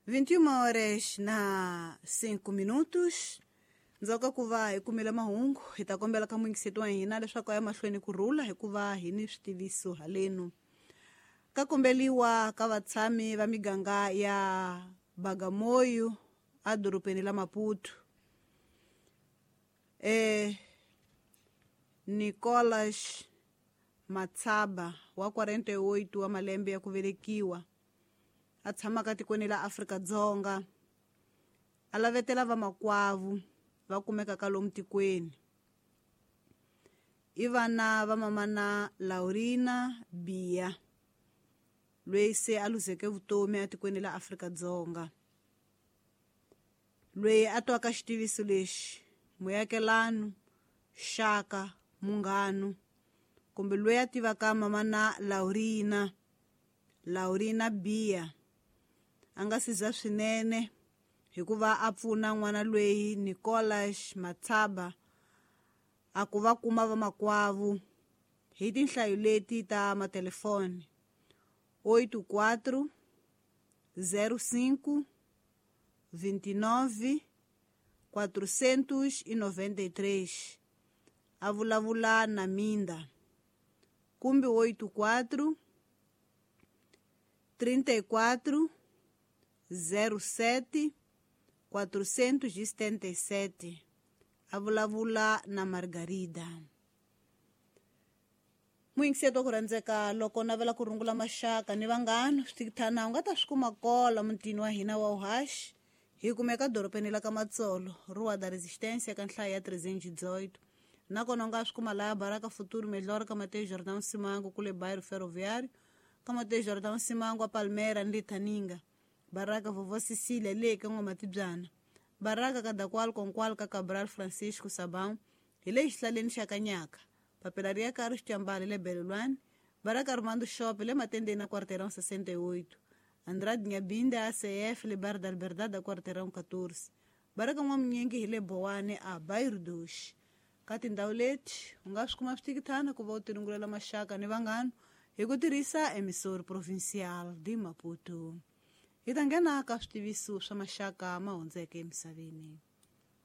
21 horas na 5 minutos. Ndzhaku ka ku va hi kumile mahungu, hi ta kombela ka muyingiseti wa hina leswaku a ya mahlweni ku rhula hikuva hi ni switiviso halenu. Ka kombeliwa ka vatshami va miganga ya Bagamoyo edorobeni la Maputo. Nicolas Matsaba wa 48 wa malembe ya ku velekiwa a tshamaka tikweni la Afrika-Dzonga a lavetela vamakwavu va kumekaka lomu tikweni. I vana va mamana Laurina Bia loyi se a luzeke vutomi etikweni la Afrika-Dzonga. Loyi a twaka xitiviso lexi, muakelani, xaka, munghana kumbe loyi a tivaka mamana Laurina Bia a nga siza swinene hikuva a pfuna n'wana loyi Nicolas Matsaba a ku va kuma vamakwavu hi tinhlayo leti ta matelefoni 84 05 29 493 a vulavula na Minda kumbe 84 34 07 477 a vulavula na Margarida. Muyingiseti wa ku rhandzeka, loko navela ku rungula maxaka ni vanghana, switikithana u nga ta swi kuma kola mutini wa hina wa uhaxi. Hi kumeka dorobeni la ka Matsolo, Rua da Resistência, ka nhlayo ya 318. Nakona u nga swi kuma laya Baraka Futuro Melhor ka Mateus Jordão Simango kule Bairro Ferroviário, ka Mateus Jordão Simango a Palmeira ni Litaninga, Baraka Vovó Cecília le ka N'wamatibyana, Baraka ka Dakwal Konkwal ka Cabral Francisco Sabão hi le xihlaleni xa Kanyaka, papila ri ya ka Xicambali le Belelwani, Baraka Armando Shop le Matendeni na Quarteirão 68, Andrade Nyabinda ACF le Bar da Liberdade a Quarteirão 14, Baraka N'wamunyingi hi le Bowane a Bairro Doce. Ka tindhawu leti u nga swi kuma switikithana ku va u tirungulela maxaka ni vanghana hi ku tirhisa Emissora Provincial de Maputo. Hi ta nghena ka switiviso swa maxaka ma hundzeke emisaveni.